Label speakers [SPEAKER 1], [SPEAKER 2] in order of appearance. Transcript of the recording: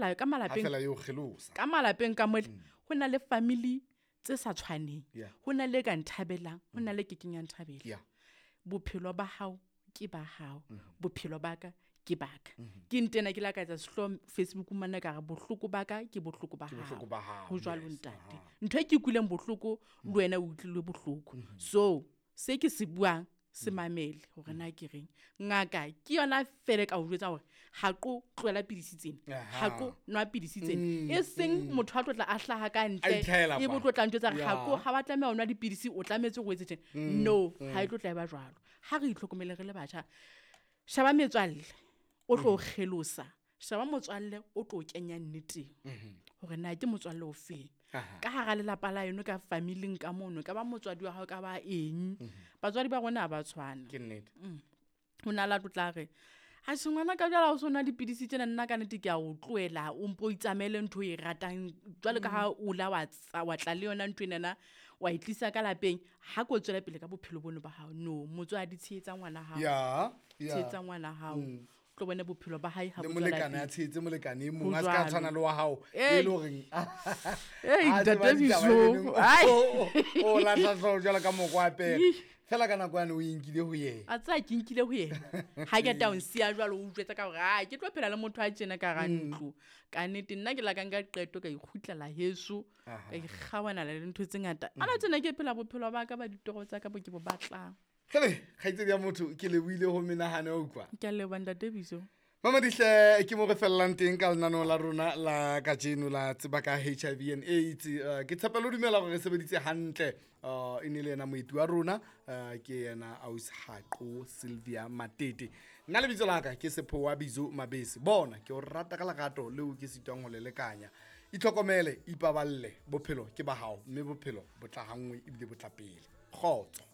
[SPEAKER 1] la ka
[SPEAKER 2] Ha
[SPEAKER 1] malapeng
[SPEAKER 2] fela eo kgelosa.
[SPEAKER 1] Ka malapeng ka mole ho na le family tse sa tshwaneng. Ho na le e ka nthabelang, ho na le e kekeng ya nthabela. Bophelo ba hao ke ba hao, bophelo ba ka ke ba ka. Ke ntena ke la ka etsa sehloho Facebook mane ka re bohloko ba ka ke bohloko ba
[SPEAKER 2] Ke bohloko
[SPEAKER 1] hao.
[SPEAKER 2] ba hao,
[SPEAKER 1] Ho jwalo
[SPEAKER 2] yes,
[SPEAKER 1] ntate.
[SPEAKER 2] aha.
[SPEAKER 1] Ntho e ke utlwileng bohloko le wena o utlwile bohloko. So se ke se buang se mamele hore na ke reng. Ngaka ke yona fela e ka o jwetsa hore ha qo tlohela pidisi tsena, ha qo nwa pidisi tsena. E seng motho a tlo tla a hlaha ka
[SPEAKER 2] A
[SPEAKER 1] ntle,
[SPEAKER 2] itlhahela
[SPEAKER 1] e bo
[SPEAKER 2] kwa.
[SPEAKER 1] tlo tla ntjwetsa hore ha qo
[SPEAKER 2] Ya.
[SPEAKER 1] ha wa tlameha ho nwa dipidisi, o tlametse hore o etse tjena. No, ha e tlo tla e ba jwalo. Ha re itlhokomele re le batjha. Sheba metswalle o tlo o kgelosa. Sheba motswalle o tlo o kenya nneteng. Hore na ke motswalle o feng. Ka hara lelapa la eno, ka familing ka mono, ka ba motswadi wa hao, ka ba eng. Batswadi ba rona ha ba tshwana.
[SPEAKER 2] Ke nnete.
[SPEAKER 1] Ho na le a tlo tla re, atjhe ngwana ka jwale ha o so nwa dipidisi tjena, nna ka nnete ke a o tlohela, o mpo o itsamaele ntho e ratang. Jwalo ka ha o la wa tsa, wa tla le yona ntho enana, wa e tlisa ka lapeng, ha ko tswela pele ka bophelo bono ba hao. No, motswadi tshehetsa ngwana hao.
[SPEAKER 2] Ya, ya.
[SPEAKER 1] Tshehetsa ngwana hao. Tlo bone bophelo ba hae ha
[SPEAKER 2] Le
[SPEAKER 1] bo tswela
[SPEAKER 2] molekane a
[SPEAKER 1] pele.
[SPEAKER 2] tshehetse molekane e
[SPEAKER 1] Ho
[SPEAKER 2] mong, a se ka
[SPEAKER 1] jwalo.
[SPEAKER 2] tshwana le wa hao,
[SPEAKER 1] Ei.
[SPEAKER 2] e le horeng,
[SPEAKER 1] Ei,
[SPEAKER 2] a tseba
[SPEAKER 1] ntate
[SPEAKER 2] ditaba
[SPEAKER 1] Biso.
[SPEAKER 2] e leng,
[SPEAKER 1] Ai.
[SPEAKER 2] o lahla hlooho jwalo ka moko wa pere.
[SPEAKER 1] Ih.
[SPEAKER 2] Fela ka nako yane o e nkile ho yena.
[SPEAKER 1] A tseba ke nkile ho yena. Ha ke ta o nsiya jwalo, o utlwetsa ka hore, ah, ke tlo phela le motho a tjena ka hara ntlo. Ka nnete, nna ke la ka nka qeto ka ikgutlela heso, ka ikgawana le ntho tse ngata. Ana tjena ke phela bophelo ba ka ba ditoro tsa ka bo ke bo batlang.
[SPEAKER 2] Kgele, kgaitsedi ya motho, ke lebohile ho menahano ya utlwa.
[SPEAKER 1] Ke a leboha ntate Biso.
[SPEAKER 2] Mamadihle, ke mo re fellang teng ka lenaneo la rona la kajeno la tseba ka HIV and AIDS. Ke tshepela ho dumela hore re sebeditse hantle. E ne le yena moeti wa rona, ke yena Ausi Haqo Sylvia Matete. Nna lebitso la ka ke Sephowa Bizo Mabese. Bona, ke o rata ka lerato leo ke sitwang ho le lekanya. Itlhokomele, ipaballe, bophelo ke ba hao, mme bophelo bo tla ha nngwe ebile bo tla pele. Kgotso.